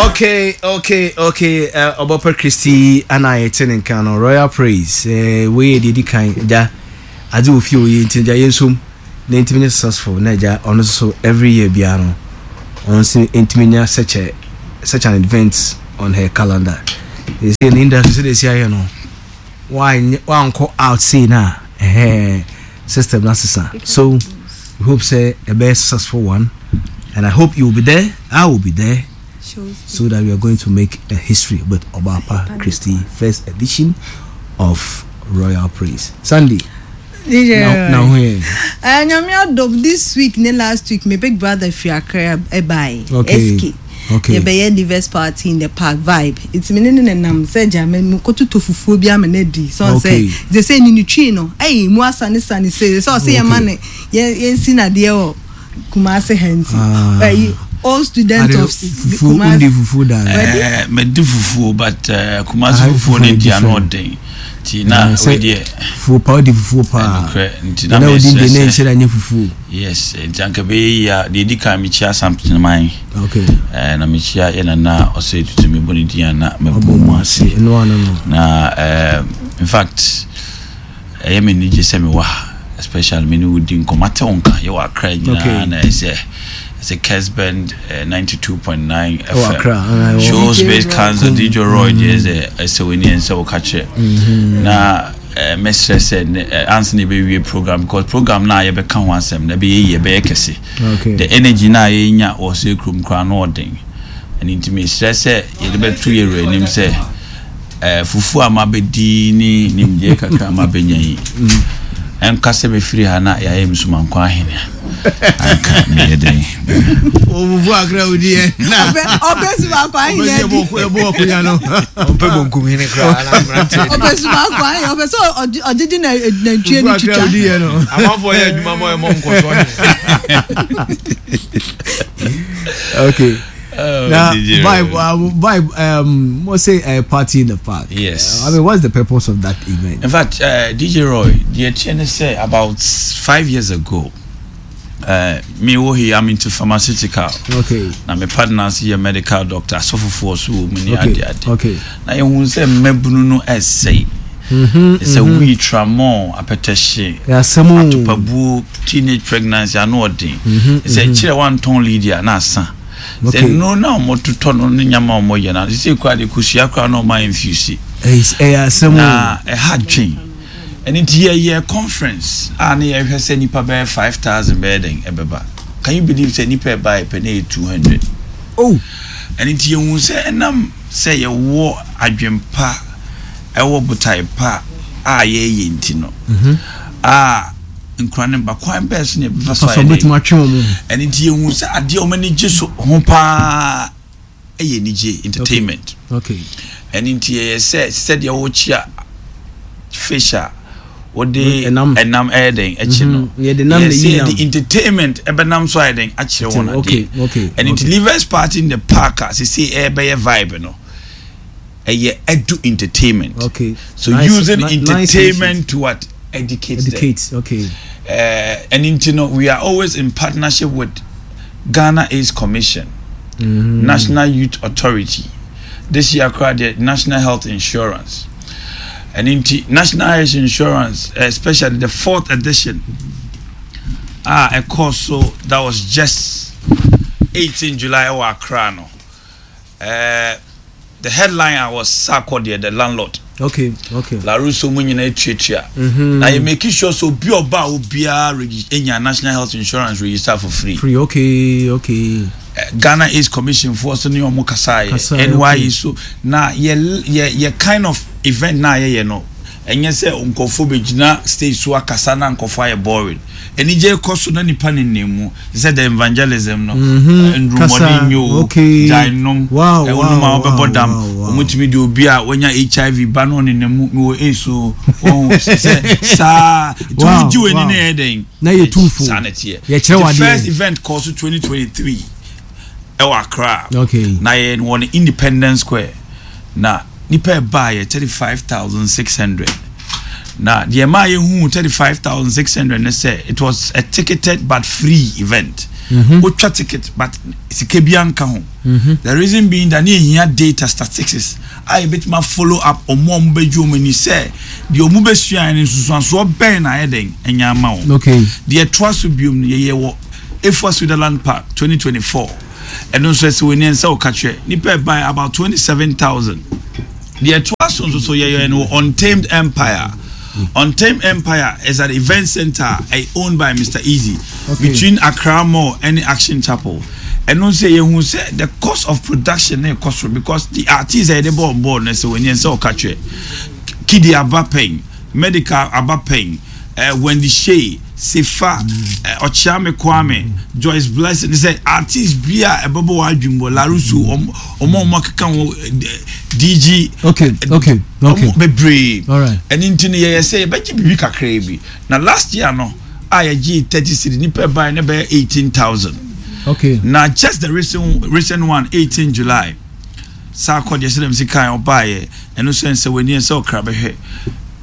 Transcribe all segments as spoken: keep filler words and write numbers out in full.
okay okay okay uh, Obaapa Christy ana yɛte ne nka no, Royal Praise. uh, wei yɛ deɛ di kan gya adze wɔ fie wɔ yɛ, nti gya yɛnsom na ntumi nyɛ successful na gya ɔno nso so every year biara no, ɔno nso ntumi nya such a such an event on her calendar. Ɛsɛ ne industry sɛ de esi ayɛ no, wanyɛ wankɔ out sei na ɛhɛn system na sesa. So we hope say ɛbɛyɛ successful one, and I hope you will be there, I will be there, so that we are going to make a history with Obaapa Christy, first edition of Royal Praise. Sandy. D J. Now, now here. Uh, Nyame adom, this week ne last week, my big brother firi Accra ɛbae. Okay. S K. Okay. Yɛbɛyɛ Leavers Party in the Park vibe. Nti me ne ne nenam sɛ gya me me kɔtotɔ fufuo bi ama no adi. Sɛ Okay. ɔsɛ sɛ sɛ ni ne twi no ɛyi mu asane sane sɛ sɛ ɔsɛ yɛma ne yɛ yɛnsi nadeɛ wɔ Kumase ha, nti Ah. ɛyi old student Ade of fufuo undi fufuo da. Eh, medi fufuo, but uh, Kumasi Ah, fufuo no fufuo di ano different. ɔden, nti na Eh, sɛ wei deɛ fufuo pa, odi fufuo paa. Ɛnokorɛ, nti na na odi mesrɛ de ne sɛ- nhyɛ da nyɛ fufuo. Yes, nti anka bɛyɛ yi a, deɛ ɛdi kan, mekyia Asanteman. Okay. eh, na mekyia yɛ nana ɔsɛ tutu mebɔ ne din a na mɛbɔ Ɔbɔ mu mu ase. ase. Ɛno ano no. Na eh, in fact, ɛyɛ me anigye sɛ mewɔ ha, especially me ne wodi nkɔmmɔ, ate wo nka yɛwɔ Akra nyinaa. Okay. Na ɛsɛ ɛsɛ Kesben eh, ninety-two point nine Ɛwɔ F M Accra, ana ɛwɔ- show D J space Roy. council, D J Roy deɛ, sɛ ɛsɛ w'ani ɛnsɛ wo ka kyerɛ na eh, mɛsrɛ sɛ ne- eh, ansa na yɛbɛwie program, because program no a yɛbɛka ho asɛm na ɛbɛyɛ yie, ɛbɛyɛ kɛse. Okay. The energy na yɛnya wɔ sɛ kurom koraa no ɔden. Ɛno nti mesrɛ sɛ yɛde bɛto yɛwura anim sɛ eh, fufuo a mabɛdi ne nimdeɛ kakra a mabɛnya yi, ɛnka sɛ mɛfiri ha na yɛayɛ msumankwa ahene a, anka meyɛ dɛn? O fufuo akra odi yɛ. Ɔpɛ ɔpɛ subaako ahene di. Ɛbɔ ɔkunya no. Ɔmpɛ bonkum hene koraa na mmeranteɛ Ɔpɛ subaako ahene, ɔpɛ sɛ ɔgye- ɔgyegye na nantwie Fufuo no akra twitwa. odi yɛ no. Amanfoɔ yɛ adwuma ma ɛmɔ nkɔsoɔ hene. Okay. Oh, Now, D J vibe, Roy. uh, vibe. Um, let's say a party in the park. Yes. Uh, I mean, what's the purpose of that event? In fact, uh, D J Roy, the T N S say about five years ago, uh, me wo here, I'm into pharmaceutical. Okay. Na me partners yɛ medical doctor, asɔfofoɔ so wɔ mu ne Okay. ade ade. Okay. Na yɛhu sɛ mmabunu no ɛsɛe. Mm-hmm. Sɛ weed, tramol, apɛtɛhye, Yasɛmu. atopabuo, teenage pregnancy, ano ɔden. Sɛ kyerɛ wantɔn lead a na asa. Sɛ Okay. nnuro na ɔmototɔ no ne nyama a ɔmɔyɛ no, sɛ kora de kosua koraa na ɔma infuse. Ɛyɛ asɛm. Na ɛha dwen. Ɛno nti yɛyɛ conference a ne yɛhwɛ sɛ nipa bɛyɛ five thousand bɛyɛ den ɛbɛba. Can you believe sɛ nipa ɛba yɛ pɛ ne yɛ two hundred? Oh. Ɛno nti yɛhu sɛ ɛnam sɛ yɛwɔ adwempa, ɛwɔ botae pa a yɛyɛ nti no a nkura ne ba kwan bɛɛ so ne yɛbɛfa so Fasɔ ayɛ bɛtumi dɛn. atwe wɔn mu. Ɛno nti yɛhu sɛ adeɛ a wɔn ani gye so ho paa ɛyɛ anigye, entertainment. Okay. Ɛno nti yɛyɛ sɛ sɛdeɛ wɔkyia fish a wɔde ɛnam. Ɛnam ɛyɛ den ɛkyi no. Mhm. Yɛde nam na yɛsɛ yi nam. Yɛde entertainment ɛbɛnam so ayɛ den akyerɛ wɔn Okay, adeɛ. okay, Ɛno nti okay. Leavers Party in the Park a sisi ɛbɛyɛ vibe no, ɛyɛ edu entertainment. Okay. So Nice- using ni- nice entertainment to what? Educate them. Educate. Okay. uh, and nti no, we are always in partnership with Ghana AIDS Commission, Mm. National Youth Authority, this year koraa the National Health Insurance. And nti National Health Insurance, especially the fourth edition a ɛkɔɔ so, that was just eighteen July ɛwɔ Accra no, uh, the headline was Sarkodie the Landlord. Okay. Okay. Laruso mu nyinaa etuatua Mhm. na yɛ make sure so obi ɔba a obiara regi enya National Health Insurance register for free. Free. Okay. Okay. Eh, Ghana AIDS Commission foɔ so ne ɔmo kasa yɛ Kasa yɛ, N Y E okay. so na yɛ yɛ yɛ kind of event na yɛyɛ no, ɛnyɛ sɛ nkɔfo bɛgyina stage so akasa na nkɔfo ayɛ boring. Anigye kɔ so na nipa nenam mu sɛ the evangelism no. Mhm. Eh, ndurumɔden Kasa, nye o, okay. gyae nom. Wow, eh, wonom a wow, wobɛbɔ wow, dam. wow, wow. Ɔmotumi de obi a wanya H I V ba na ɔnenam mu, mewɔ AIDS o, wɔhu sɛ saa nti Wow, wogye w'ani wow. na ɛyɛ dɛn. Na yɛ tumfo. Saa na ɛteɛ. Yɛkyerɛ The wo adeɛ. first event kɔɔ so twenty twenty-three ɛwɔ Accra. Okay. Na yɛ wɔ no Independence Square na nipa ɛbaa yɛ thirty-five thousand six hundred. Na deɛ maa yɛhu thirty five thousand six hundred ne sɛ it was a ticketed but free event. Wotwa ticket but sika bi anka ho. The reason being that ne yɛhia data, statistics a yɛbɛtumi follow up ɔmo a ɔmo bɛgye ɔmo ani sɛ deɛ ɔmo bɛsua no, nsusuansoɔ bɛn na ayɛ dɛn ɛnya ama wɔn. Okay deɛ ɛtoa so biom no, yɛyɛ wɔ Efua Sutherland Park twenty twenty-four. Ɛno nso ɛsɛ wɔ ni nsa ɔka kyerɛ nipa ɛban about twenty-seven thousand. Deɛ ɛtoa so nso so, yɛyɛ no wɔ Untamed Empire. Untamed Empire is an event center eh, owned by Mister Easy Okay. between Accra Mall and Action Chapel. Ɛno nso yɛhu sɛ the cost of production ne kɔ soro because the artist a yɛde bɔ on board no, sɛ wɔ ni nsa ɔka kyerɛ Kidi aba pɛn, Medical aba pɛn, uh, Wendy Shay, Sefa, uh, Ɔkyeame Kwame, Joyce Blessing, sɛ artist bi a ɛbɛbɔ wɔ adwuma wɔ Larusu, ɔmo ɔmo a ɔmo akeka ho, eh, D G okay okay okay ɔmo bebree. Alright. Ɛne nti no, yɛyɛ sɛ yɛbɛgye biribi kakraa bi. Na last year no a yɛgye thirty cedi, nipa ban ne bɛyɛ eighteen thousand. Okay na just the recent recent one, eighteen July, saa kɔ deɛ sɛ dɛm si kan ɔbaayɛ, ɛno sɛ nsɛ w'ani sɛ ɔkra bɛhwɛ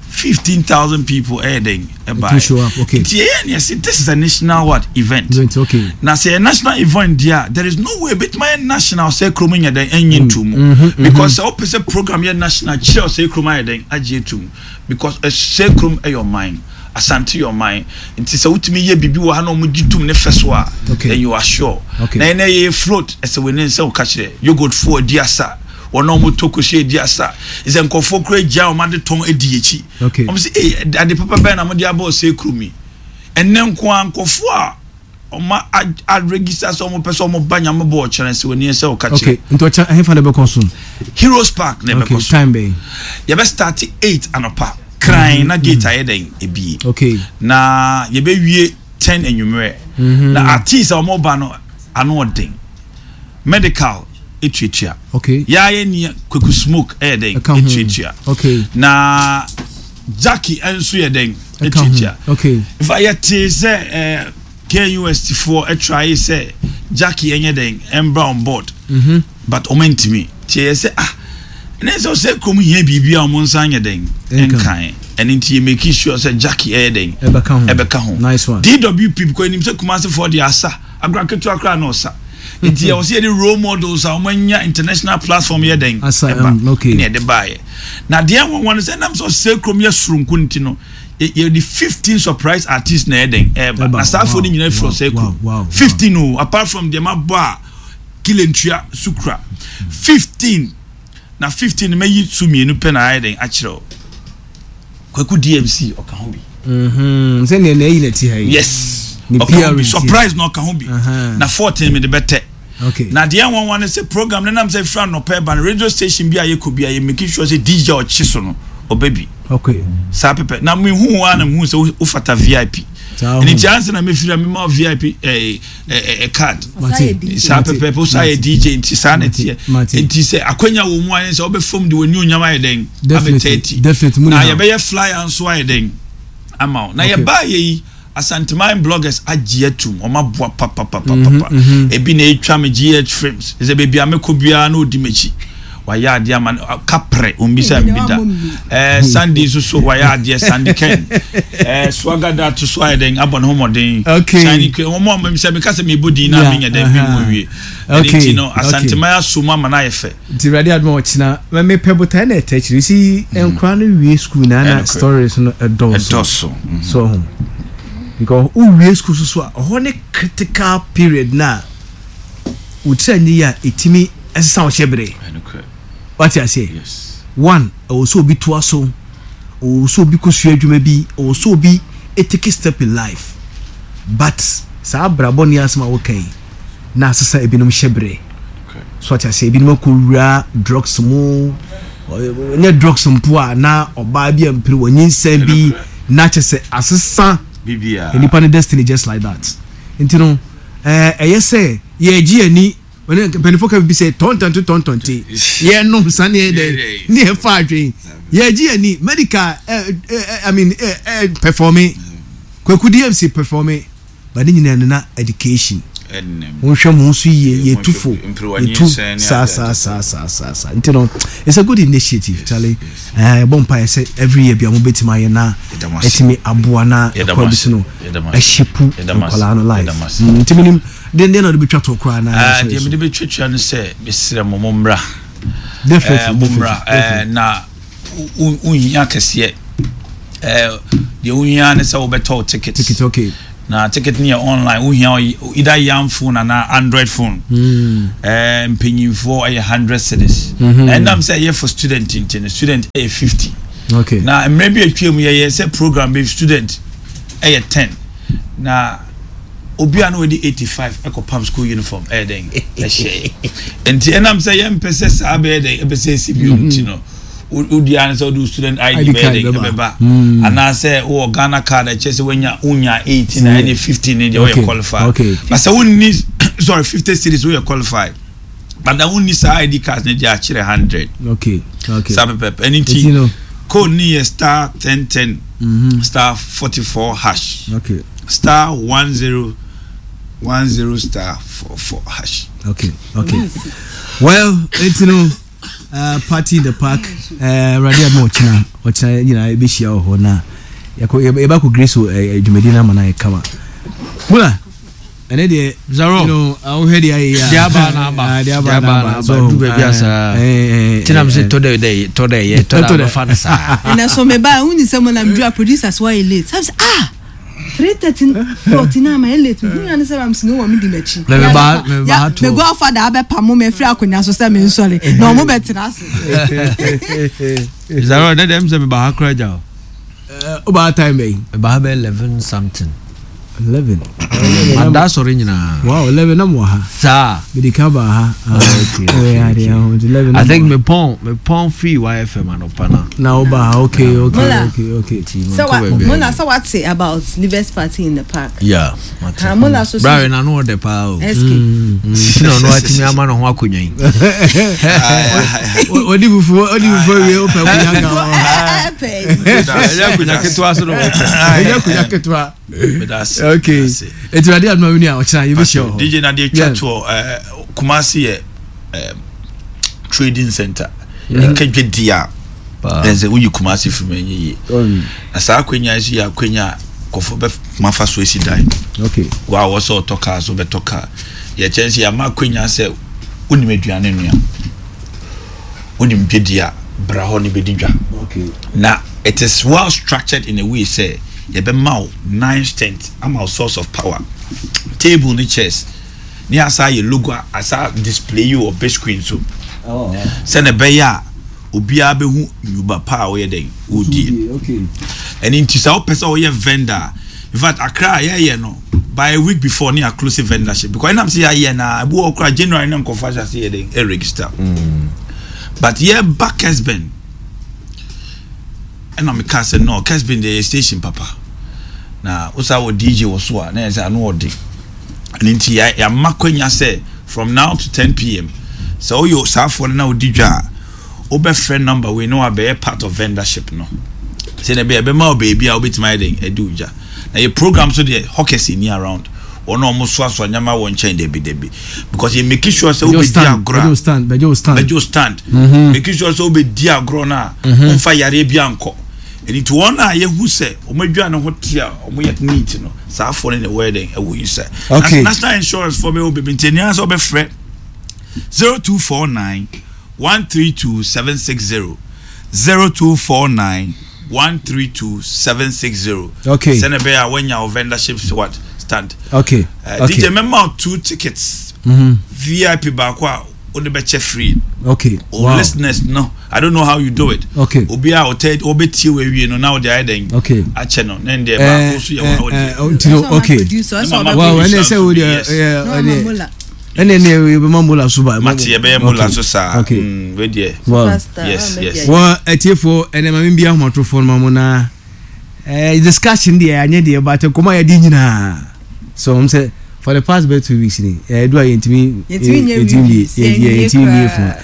fifteen thousand people ɛyɛ dɛn Ɛtumi show up, okay. Nti yɛyɛ ne yɛsi this is a national what, event. Event, okay. Na sɛ yɛ national event deɛ a, there is no way ebituma yɛ national sɛ kurom nyɛ dɛn ɛnyɛ ntu mu, mhm, because sɛ wopɛ sɛ program yɛ national kyerɛ sɛ kurom ayɛ dɛn agye etu mu, because ɛsɛ kurom ɛyɛ ɔman, Asante yɛ ɔman. Nti sɛ wotumi yɛ biribi wɔ ha na ɔmo gye tum ne fɛ so a, Okay. then you are sure. Okay. Na yɛn yɛ float ɛsɛ wɔ ne nsa ɔka kyerɛ yogurt fo adi asa, wɔn a wɔn tɔ kosua adi asa, sɛ nkɔfoɔ kura gya wɔn ade tɔn adi akyi. Okay. Wɔn sɛ ee, ade papa bɛn na wɔde abɔ ɔsɛ kurom yi? Ɛnɛ nko a, nkɔfoɔ a wɔn a register sɛ wɔn pɛ sɛ wɔn ba Nyame bɔ ɔkyerɛ sɛ wɔn ani sɛ ɔka Okay kyerɛ. Nti ɔkyɛ ɛhefa na ɛbɛkɔ so? Heroes Park na okay ɛbɛkɔ so. Time bɛn? Yɛbɛ start eight anɔpa kran na gate ayɛ dɛn ebie. Okay na yɛbɛwie ten anwummerɛ. Na artist a wɔn ba no ano ɔden, Medical etuatua, okay yɛayɛ ni Kweku Smoke ɛyɛ dɛn Ɛka ho. etuatua. Okay na Jackie nso yɛ dɛn Ɛka ho. etuatua. Okay nfa yɛte sɛ ɛɛ K U S T foɔ ɛtwa yi sɛ Jackie ɛnyɛ dɛn ɛmbra on board, mhm but ɔmo ntumi tie. Yɛ sɛ ah, ɛnɛ sɛ ɔsɛ kurom hia biribi a ɔmo nsa nyɛ dɛn Ɛnka. ɛnkan. Ɛne nti yɛ make sure sɛ Jackie ɛyɛ dɛn Ɛbɛka ho. ɛbɛka ho. Nice one. D W P, because enim sɛ Kumasi foɔ de asa agorɔ ketewa koraa na ɔsa, nti yɛ wɔsɛ yɛde role models a wɔn anya international platform yɛ dɛn Asa, ɛba. um, okay. Ne yɛde baayɛ na deɛ wɔn wɔn sɛ nam sɛ ɔsɛ kurom yɛ soronko nti no, yɛ- yɛde fifteen surprise artists na yɛ dɛn ɛɛba. Ɛba. Na saa afɔ Wow, no nyinaa firi wow, ɔsɛ wow, kurom. wow, wow. Fifteen o, apart from deɛ ma bɔ a kilentua sukura fifteen. Na fifteen mɛyi so mmienu pɛ na ayɛ dɛn akyerɛ o. Kwaku D M C ɔka ho bi. Mhm sɛnea na ɛyi na ti ha yi. Yes. Ne Ɔka ho bi. P R nti. Surprise na ɔka ho bi. Aha. Na fourteen mi de bɛtɛ. Okay na deɛ nwanwa ne sɛ program ne nam sɛ fira nnɔpɛ ba no, radio station bi a yɛkɔ bi a yɛ making sure sɛ D J a ɔkye so no ɔbɛ bi. Okay saa pɛpɛ na mehu wa na mehu sɛ wo- wofata V I P. Saa Ɛne ho. nti ansa na mefiri a mema wo V I P eh, eh, eh, card. Mate. Saa Mate. pɛpɛpɛ wo saa yɛ D J, nti saa na ɛteɛ. Mate. Nti sɛ akwanya wɔ mu ayɛ sɛ wobɛfam de w'ani onyam ayɛ dɛn Definitely, abɛtɛ akyi. definitely, mu Na ni ha. yɛbɛyɛ flyer nso ayɛ dɛn ama wo na Okay. yɛbaa yɛ yi, Asanteman bloggers agye atum, ɔmo aboa papapapapa. Mhm, Ebi na etwa me G H Films sɛ beebi a mekɔ biara na odi m'akyi, wayɛ adeɛ ama no kaprɛ ombisa Ebi mi na da. wabɔ mi. ɛɛ Sandy nso so wayɛ adeɛ, Sandy Ken, ɛɛ Swagger to so ayɛ dɛn abɔ ne ho mmɔden. Okay. Shiny Queen, wɔn a sɛ meka sɛ mebɔ din na Yeah, menyɛ dɛn mi uh-huh. mu wie. Ɛne Okay, nti no okay. Asanteman aso mu ama no ayɛ fɛ. Nti Awurade adom a, ɔkyena mepɛ botae na ɛtɛ akyiri si nkora no wie school na na Ɛnokorɛ. stories no ɛdɔɔso. Ɛdɔɔso mhm. So ho because wowie school so so a, ɔhɔ ne critical period na wotiri anyi a ɛtumi ɛsesa wo hyɛ bere. Ɛnokorɛ. Wate aseɛ? Yes. One, ɛwɔ sɛ obi toa so, ɛwɔ sɛ obi kɔsua adwuma bi, ɛwɔ sɛ obi take step in life, but saa abrabɔ ne asɛm a woka yi na asesa ebinom hyɛ bere. Okay. So ate aseɛ, ebinom akɔwura drugs mu, ɔ- nyɛ drugs mpo a, na ɔbaa bi a mpere wɔ nyinsɛn bi na kyɛ sɛ asesa Bibia. nipa ne destiny just like that. Nti no ɛɛ ɛyɛ sɛ yɛgye ani ɔne mpanyinfoɔ ka bi sɛ tɔntɔnte tɔntɔnte yɛnom sa ne yɛ dɛ ne yɛ fa adwen yɛgye ani. Medical ɛ ɛ I mean ɛ ɛ performe, Kwaku D M C performe, but ne nyinaa no na education. Monhwɛ mo ho so yie, yɛtu fo, yɛtu saa saa saa saa saa saa. Nti no, it's a good initiative, Charlie. Eh, yɛbɔ mpaeɛ sɛ every year bia mobɛtumi ayɛ na ɛtumi aboa na ɛkwan bi so no ɛhyepu nkwadaa no life. Mm, nti menim deɛ deɛ na ɔde bɛtwa to koraa na ah, deɛ mede bɛtwatwa no sɛ mesrɛ mo mommra. Definitely, eh, mommra eh, na wonhia kɛseɛ. Eh, deɛ wohia ne sɛ wobɛtɔ wo ticket. Ticket, okay. Na ticket no yɛ online, wohia either yam phone anaa Android phone. Mm. Eh, mpanyinfoɔ ɛyɛ hundred cedis. Mm -hmm. Na ɛnam sɛ ɛyɛ for student nti no, student ɛyɛ fifty. Okay. Na mmerɛ bi atwa mu yɛyɛ sɛ program bi student ɛyɛ ten. Na obi a na wadi eighty five ɛkɔ pam school uniform ɛyɛ dɛn ɛhyɛ. Nti ɛnam sɛ yɛmpɛ sɛ saa bɛyɛ dɛn ɛbɛ sɛ esi bio nti no, wodi ara sɛ wode student I D bɛyɛ dɛn ɛbɛba, anaasɛ wowɔ Ghana card ɛkyɛ sɛ woanya wonya eighteen na ɛne fifteen ne deɛ woyɛ qualified. But sɛ wonni, sorry, fifty cedis woyɛ qualified, but na wonni saa I D card ne deɛ akyerɛ hundred. Okay, okay. Saa pɛpɛpɛ. Ɛno nti code ne yɛ star ten ten star forty four hash. Okay. Star one zero one zero star four four hash. Okay, okay. Well, it's you know, uh, party in the park. Awurade adom ɔkyena ɔkyena nyinaa yɛbɛhyia wɔ hɔ na yɛbɛkɔ grace dwumadi no ama no ayɛ kama. Mula, ɛne deɛ Zaro, you know, wohwɛ deɛ ayɛ yi a deɛ aba na aba, deɛ deɛ aba aba na na aba. aba, du baabi a saa nti na mesɛ tɔ dɛ dɛ tɔ dɛ yɛ tɔ dɛ abɛfa no saa. Ɛnɛ so meba woni sɛ mo na meduru a producers wayɛ late. Sɛ ah, three thirty forty nine ma yɛ late. Hu ya ne sɛ am sinu wɔ me di m'akyi. Na me ba me ba ha Me twelve. godfather abɛpa mo me afiri akonnwa so sɛ me nsɔre na ɔmo bɛtena ase. Zaro, dɛ dɛm sɛ me ba ha kora gya o. Wobaa time bɛyi? Me ba ha bɛ eleven something. Eleven. Mada asɔre nyinaa. Wow, eleven na mo wɔ ha. Saa. Mede ka ba ha. Okay, okay, okay. Eleven. I think me pɔn me pɔn free Y F M anɔpa na. Na wo ba ha, okay, okay, Mola. okay, okay. Sɛ wa Mola sɛ wate about Livers party in the park. Yeah, mate. Ha Mola so so. Brare na no ɔdɛ paa o. S K. Nti na ɔno atumi ama ne ho akonnwa yi. Odi fufu, odi fufu wie o pɛ kunya ka ho. Ɛyɛ akonnwa ketewa so na ɔpɛ. Ɛyɛ akonnwa ketewa. Okay. Eti ade aduma mi ni a ɔkyena yɛbɛhyia wɔ hɔ. D J na deɛ twa toɔ, Kumasi yɛ trading center. Nka dwedi a ɛsɛ woyi Kumasi firi mu ɛnyɛ yie. Na saa akonnwa yi so yɛ akonnwa a kɔfɔ bɛ kuma fa so esi dan. Okay. Wa wɔ sɛ ɔtɔ kaa so bɛtɔ kaa. Yɛkyɛn sɛ yɛama akonnwa sɛ wonim aduane nua, wonim dwedi a bra hɔ ne bɛdi dwa. Okay. Na it is well structured in a way sɛ yɛbɛma wo nine tent ama wo source of power, table ne chairs ne asa yɛ logo a asa display yi wɔ big screen so. Sɛ na ɛbɛyɛ a obiara bɛhu nnwuma pa a woyɛ dɛn wodie. Ɛno nti sɛ wopɛ sɛ woyɛ vendor, in fact Accra yɛyɛ no by a week before ne yɛ close vendorship because ɛnam sɛ yɛayɛ na ebi wɔ koraa January na nkɔfo ahyɛ ase yɛ dɛn ɛregister. But yɛba Kesben ɛna meka sɛ no Kesben deɛ yɛ station papa na wosa wɔ D J wɔ so a na yɛ sɛ ano ɔde. Ɛno nti yɛama kwanya sɛ from now to ten P M sɛ woyɛ saafoɔ no na wodi dwa a wobɛfrɛ number wei na wabɛyɛ part of vendorship no sɛ na ɛbɛyɛ ɛbɛma wo baabi a wobɛtumi ayɛ dɛn ɛde wo dwa. Na yɛ program so deɛ hawkers ni around wɔn a wɔn soasoa nneɛma wɔ nkyɛn dɛbi dɛbi because yɛ make sure sɛ wobɛdi agorɔ a bɛgye stand, bɛgye stand, bɛgye stand, make sure sɛ wobɛdi agorɔ no a wɔmfa yareɛ bi ankɔ. Ɛnti wɔn a yɛhu sɛ wɔn adwa ne ho te a wɔn yɛ neat no saa afɔ no na ɛwɔ yɛ dɛn ɛwɔ yi sɛ Okay. National Insurance fɔ bɛwɔ bebree nti ɛnìyɛn sɛ ɔbɛfrɛ zero two four nine one three two seven six zero zero two four nine one three two seven six zero. Okay. Sɛ na ɛbɛyɛ a wɔnya wo vendorship what stand. Okay. Uh, Okay. D J mɛma two tickets. Mm-hmm. V I P baako a wode bɛkyɛ free. Okay. O Wow. listeners no, I don't know how you do it. Okay. Obi a ɔtɛ ɔbɛtie wɔ awie no na ɔde ayɛ dɛn. Okay. Akyɛ no na ndeɛ Eh, baako so yɛ eh, wɔn a wɔde. eh, nti no, okay. Wow, ɛnna sɛ wo deɛ ɛyɛ ɛnna ɛnna yɛbɛma mola so ba. Mate yɛbɛyɛ mola so saa. Okay. Mm, wei deɛ. Wow. Yes, yes. Wɔ atiefoɔ ɛnna maame bi ahomatorofoɔ no ma mo na eh, discussion deɛ anyɛ deɛ but nkɔmɔ a yɛde nyinaa so wɔn sɛ for the past about two weeks ni ɛɛ do a yɛntumi yɛntumi yɛ yɛntumi wie fún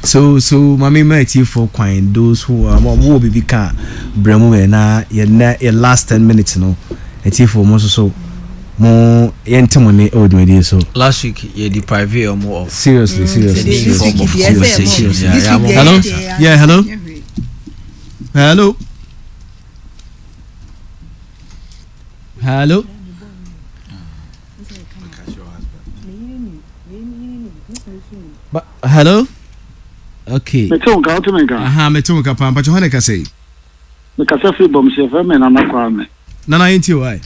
so so maame ma atiefoɔ kwan those who are mo wɔ bibi ka brɛ mu yɛ na yɛ na yɛ last ten minutes no atiefoɔ mo nso so Mo yɛnte mo ne ɛwɔ dwumadie so. Last week yɛ deprive ɔmo of Seriously, seriously, This seriously, week seriously, deɛ, ɛsɛ seriously. Yeah, This yeah, week yeah. deɛ, Hello? deɛ, Yeah, hello? Hello? Hello? Ba hello? Okay. Mete wo nka, wote me nka? Aha, mete wo nka paa. Mpakyɛ hɔ ne kasa yi? Mekasa firi Bɔmhyɛ, yɛfrɛ me Nana Kwame. Nana, yɛntie wo ae.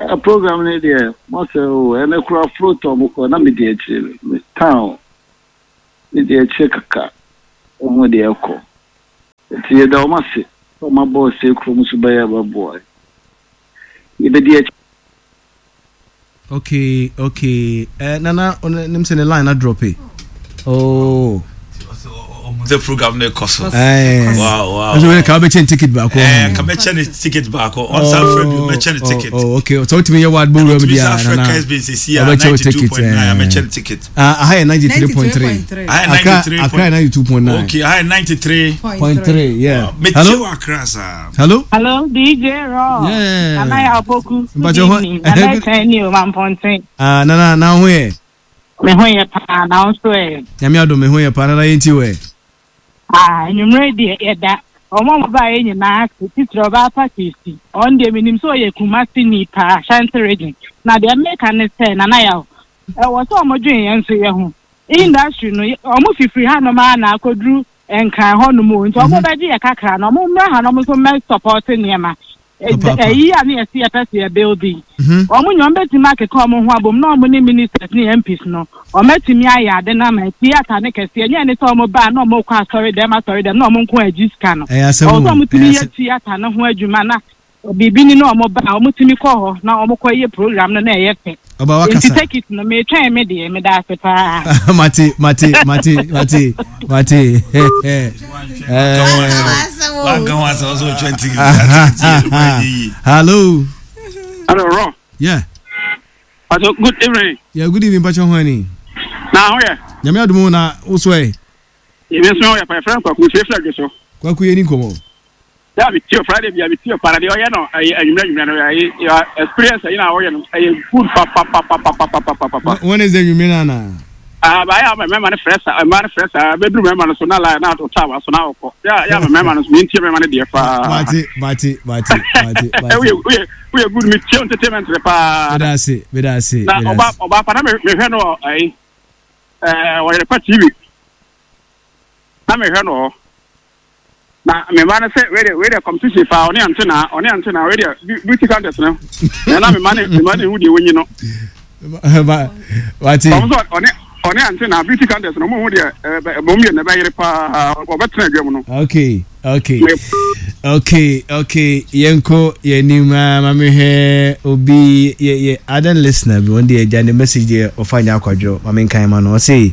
Uh, program no deɛ, mɔsɛ o, ɛnɛ kora float a ɔmo kɔ, na medi akyire, me town, medi akyire kaka, ɔmo deɛ ɛkɔ. Nti yɛda ɔmo ase, sɛ ɔmo abɔ ɔsɛ kurom so bɛyɛ bɛboa. Yɛbɛdi akyire. Okay, okay. Uh, Nana, nim sɛ ne line na drop e. Oh. The program no kɔ so. Eh. Wow, wow. Nso wei ka wobɛkyɛ ne ticket baako. Eh, ka bɛkyɛ ne ticket baako. Ɔnsan frɛ bi, mɛkyɛ ne ticket. Oh, oh, okay. So wotumi yɛ ward bowura mu Ɔtumi deɛ san a, frɛ Nana. Kesbin sisi a Ɔbɛkyɛ wo ticket. ninety-two point nine, mɛkyɛ ne ticket. Ah, aha yɛ ninety-three point three. Aha yɛ Accra, ninety-three. Accra yɛ ninety-two point nine. Okay, aha yɛ ninety-three. Point three, yeah. Metie Hello? wɔ Accra saa. Hello? Hello, D J Raw. Yeah. Nana Yaw Opoku. Good Mpakyɛ hɔ- evening. Nana Etwan ni o Mamponten. Ah, Nana, na ho yɛ? Me ho yɛ paa na wo nso ɛ? Nyame adom, me ho yɛ paa. Nana, yɛntie wɔ ɛ. Ah, anwummerɛ deɛ yɛda ɔmo a ɔmo baeɛ nyinaa ase, titiri ɔbaa pa Kristi. Ɔno deɛ menim sɛ ɔyɛ Kumasi ni paa, Ashanti Region. Na deɛ meka ne sɛ, Nana Yaw, ɛwɔ sɛ ɔmo dwen yɛn nso yɛ ho. Industry no, ɔmo fifiri hanom a na akɔduru Nkran hɔnom o. Nti ɔmo bɛgye yɛ kakra na ɔmo mmra hanom nso mmɛ support nneɛma. Papaapa. Ɛyi a ne yɛsi yɛpɛ sɛ yɛ building. Mhm. Ɔmo nyɛ ɔmo bɛtumi akeka ɔmo ho abom na ɔmo ne ministers ne M Ps no ɔmo atumi ayɛ ade na ama theatre ne kɛseɛ nyɛ ne sɛ ɔmo baa na ɔmo kɔ asɔre dɛm asɔre dɛm na ɔmo nko agyi sika no. Ɛyɛ asɛm Ɔwɔ o. sɛ ɔmo tumi Ɛyɛ yɛ asɛm. theatre no ho adwuma na biribi ni na ɔmo ba a ɔmo tumi kɔ hɔ na ɔmo kɔ yɛ program no na ɛyɛ fɛ. Ɔba Nti wakasa. ticket no, metwɛn me deɛ, meda ase paa. Mate, mate, mate, mate, mate. Eh. Wanka ho asɛm sɛ ɔtwa ticket. Ticket yɛ yi. Hello. Hello, Raw. Yeah. Pacho, good evening. Yeah, good evening, Pacho Hwani. Na ho yɛ? Nyame adom, na wo so ɛ? Ebi nso yɛ pa, yɛfrɛ no Kwaku, fie flag so. Kwaku, yɛ ni nkɔmmɔ. Yà mi tie o Friday bi a mi tie o para deɛ ɔyɛ no ɛyɛ anwummerɛ anwummerɛ no ɛyɛ yɛ experience ɛyi na ɔyɛ no ɛyɛ good papapapapapapapa. When is the nwummerɛ no ana? Ah, ba yà mɛma ne frɛ sa, mɛma ne frɛ sa bɛduru mɛma no so na la na ɔta wa so na ɔkɔ yà yà mɛma no so mi ntie mɛma no deɛ paa. Mate, mate, mate, mate, mate. Woyɛ woyɛ woyɛ good, mi tie entertainment de paa. Meda ase, meda ase. Na Meda ɔba ase. Ɔba pa na me mehwɛ no wɔ ɛyi ɛɛ Ɔyɛrɛpa T V na mehwɛ no hɔ na me ba no sɛ wei de wei de competition fa ɔne ante na ɔne ante na wei de beauty contest no na na me ma ne me ma ne hu deɛ wɔnyi no. Ba- Mate. Ɔmo sɛ ɔne ɔne ante na beauty contest no, ɔmo hu deɛ ɛɛ ɔmo mmienu na ɛbɛyere paa, ɔbɛtena adwa mu no. Okay, okay. Okay, okay. Yɛnkɔ yɛnim a ma mehwɛ obi yɛ yɛ other listener bi, wɔn deɛ agya ne message deɛ ɔfa nyɛ akwadworɔ ma menkan ma no, ɔse